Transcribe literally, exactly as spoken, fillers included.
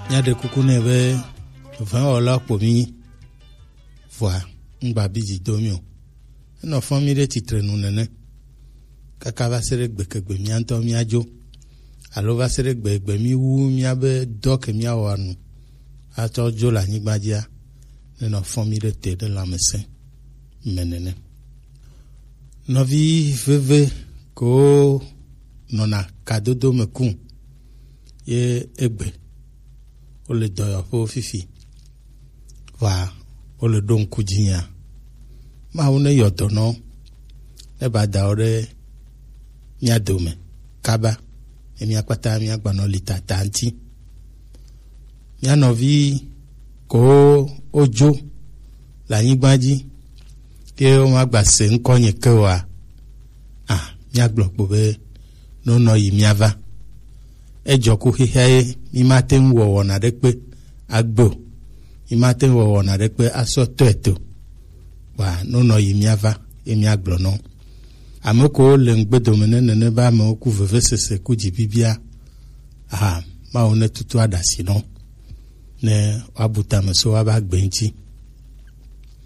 Míaɖe kuku nɛ be vɛ̃wɔla ko mí nyi. Vɔa, ŋgba bi dzi do mí o. Enɔ fɔn mí ɖe tsitrenu nene. Kaka va se ɖe gbekegbe mía ŋutɔ míadzo. Alo va se ɖe gbegbe mí wu míabe dɔ ke míawɔa nu atsɔ dzo le anyigba dzia, nenɔ fɔn mí ɖe te ɖe lãmesẽ me nene. Nɔvi veve ko nɔna kadodo me kum ye egbe wole dɔyɔƒewo fifi, vɔa wole ɖo ŋku dzinyea. Mawu ne yɔ dɔ nɔ ne ba da wo ɖe mía dome kaba, ne mía kpata mía gbanɔ li tata ŋuti. Mía nɔvi ko wodzo le anyigba dzi ke womagba se ŋkɔ nye ke oa? A, míagblɔ kpo be nonɔ yi míava. Edzɔ ku xexea ye mímate ŋu wɔ wɔna ɖe kpe agbe o. Mímate ŋu wɔ wɔna ɖe kpe asɔ tɔe to. Wa nonɔ yi míava ye míagblɔ nɔ. Ame ko le ŋgbe dome ne nene be amewo ku vevesese ku dzi bibia. Aha, Mawu ne tutu aɖasi nɔ ne woabu tame so woaba gbe ŋuti.